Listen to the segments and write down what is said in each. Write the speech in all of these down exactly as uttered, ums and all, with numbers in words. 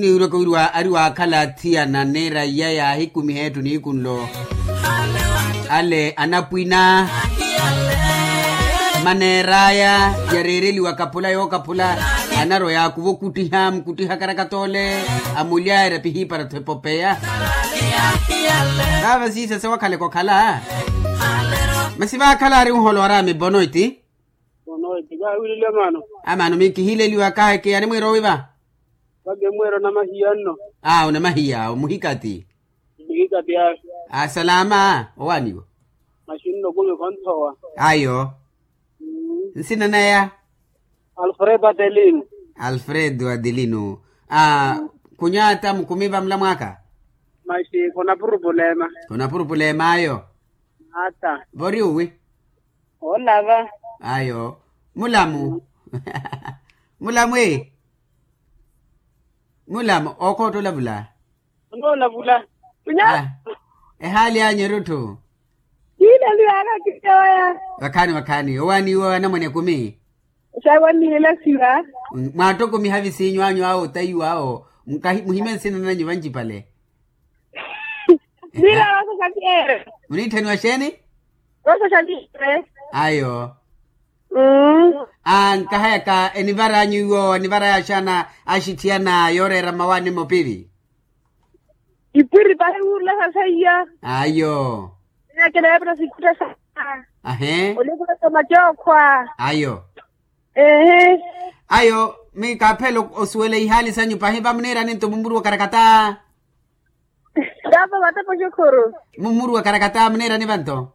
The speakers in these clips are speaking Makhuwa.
Iwiroko wiriwa ari waakhala athiyana neera iya yaahikumiha etthu niikunlo. Ale anapwina maneer'aya yareereliwa kaphula yookaphula. Anaroya akuva okuttiha mukuttiha karakatoole. Amuly'aya erapihiipara-tho epopeya. Vaava siisa sewakhaleke okhala. Masi vaakhala ari nholo araami bonoiti. Bonoiti kaawilile maano. Amaano mikihiileliwa kaaheke yaani mwiira owiva. Vake mweero namahiya nno. Aa onamahiya omuhikati. Muhikati ayo. Asalaama owaaniwa. Maxinno kumi khonthowa. Ayo. Nsina naya? Alfredo adelino. Alfredo adelino. Aa khunyaata mukumi vamula mwaaka. Maxi khuna purupulema. Khuna purupulema ayo. Ata. Vori uwi? Olava. Ayo. Mulamu. Mulamu ee. Mulamu okhootta olavula. Onoolavula. Ehali anyu erutthu. Kiileliwaka kiyoya. Vakhaani vakhaani owaaniwa anamwane kumi. Osawanihela siva. Mwaattokomiha visinyu anyu awo otayiwa awo. Muhime nsina nanyu vancipale. Nila vasa xaviere. Muniitthaniwa xeeni? Vasa xaviere. Ayo. Ankahayaka enivaranyu iwo enivaraya axana axitthiyana yooreera mmawaani mopivi. Ipwiri pahi wuurulasa seiya. Ayo. Eya kinaapira sikutta sa. Ahe. Olikula sa macookhwa. Ayo. Ehe. Ayo. Mikaaphela osuwela ihaali sanyu pahi vamuniirani nto mumuru wa karakata. Kaapa vatepa oxukhuru. Mumuru wa karakata muniirani vanto.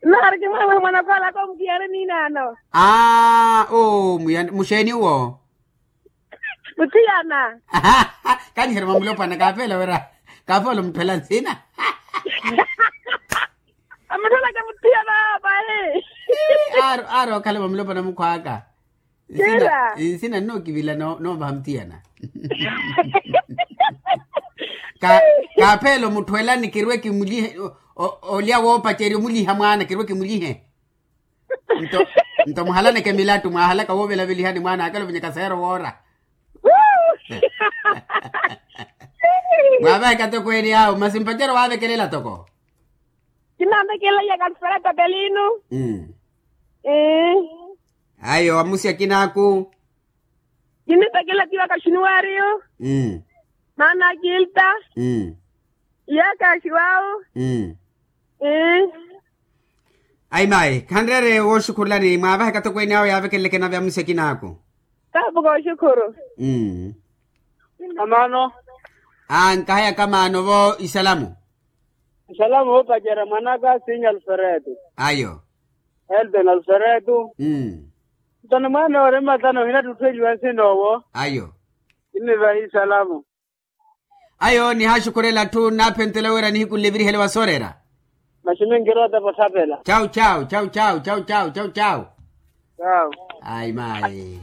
Nari kimwemwe mwanakhola komukiyaani ninaano. Aa oo muxeeni uwo. Muthiyana. Kaniheri mamulopwana kaafela wira. Kaafela omuthwela nsina. Amutholaka muthiyana pahi. Aari okhala mamulopwana mukhwaaka. Nsina nnookivilana noovaha muthiyana. Kaapheela omutthu ela nikirwe kimulyihe. Olya woopacerya omulyiha mwaana kirwe kimulyihe. Nto muhalaneke milattu mwaahalaka woovelavelihani mwaana akala ovinyaka seero woora. Mwaavaheka toko eri awo masi mpacerya waavekelela toko. Kinaavekelela ya kalifela tapelinu. Ayo amusi akinaaku. Kinipekela tiwa kaxiniwariyo. Maana akilta. Iyakaxiwawu. Ayi mayi khanreere wooxukhurulani mwaavaheka tokweene awo yaavekeleleke nave amusi akinaaku. Kaapuka oxukhuru. Amaano. Ankahayaka maano vo isalamu. Isalamu voopacerya mwanaka sinyi alfereto. Ayo. Elton alfereto. Nto ni mwaana oore mmatano ohinattutthweliwa nsinoowo. Ayo. Kinnivaha isalamu. Ayo nihaaxukhurela atthu nnaaphentela wira nihikunle evirihele wa sooreera. Maxi minkirootepa otthapela. Chau chau chau chau chau chau chau chau. Chau. Ayi mayi.